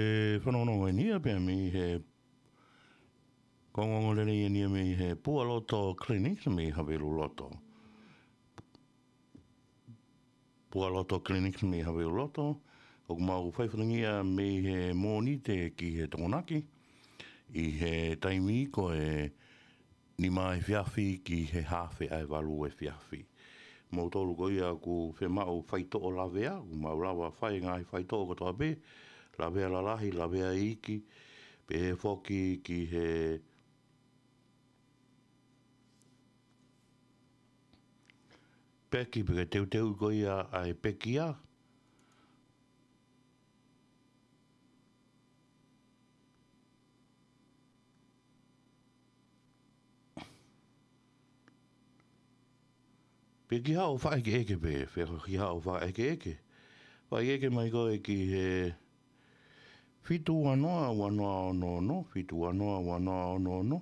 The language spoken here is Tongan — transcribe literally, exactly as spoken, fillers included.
E fanongo eni ia pea mei he kongongo lele ia nia mei he Pualoto Clinic mei Haveluloto. Pualoto Clinic mei Haveluloto. ʻOku mau fai fatangia mei he Mōnite ki he Tokonaki. ʻI he taimi ko e nima efiafi ki he haafe ʻa e valu efiafi. Moutolu ko ia ʻoku fiemaʻu faitoʻo lavea, ʻoku mau lava fai ngaahi faitoʻo kotoa pē, lavea lalahi, lavea iiki, pehē foki ki he peki pe ko e teuteu ko ia ʻa e pekia. Pe ki haʻo faʻekeʻeke pe, pe ki haʻo faʻekeʻeke. Faʻekeʻeke mai koe ki he fitu ua noa ua noa ono ono, fitu ua noa ua noa ono ono,